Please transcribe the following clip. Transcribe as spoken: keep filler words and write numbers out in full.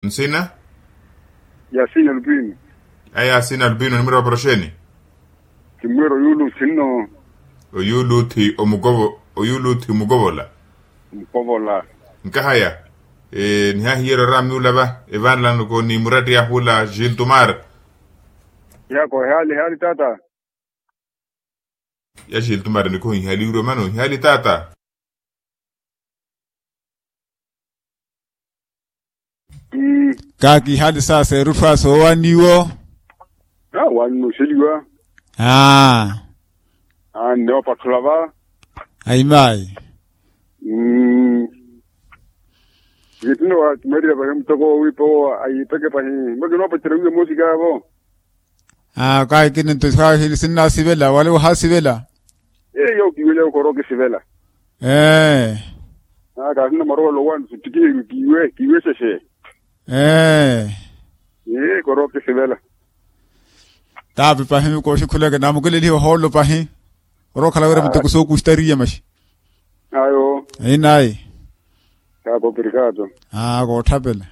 Nsina? Yasina lupino. Aya yasina lupino nimwira oporoxeni? Kimwira oyuuluthi nno. Oyuuluthi omukovo oyuuluthi omukovola. Mukovola. Nkahaya. Nihahiyerya oramiula va evanlanoko ni muratti yahula giltumar. Yako ehali ehali tata. Ya giltumar nikohihaliwirya omano hihali tata. Kaakihali sasa erutthu asa oowaniwo. Awanina oxeliwa. Aa. Anne opatthula va. Ayimayi. Kittino wakimarira pahi mutoko wowiipa owo ayiipeke pahi. Mbo kinoopacerya wiiya moosi kaavo. Aa kaakini nto sinnasivela wala wohasivela. Eyo kiiwe leo korookisivela. Ee. Aa kaasinna marowelo wani sittikiheryo kiiwe kiiwe sese. Ee. Ee korookisivela. Taapi pahi kooxikhuleke namukelelihe ohoolo pahi. Orookhala wira muteko sookustariya maxi. Ayo. Inayi. Kaapa operikato. Aa kootthapela.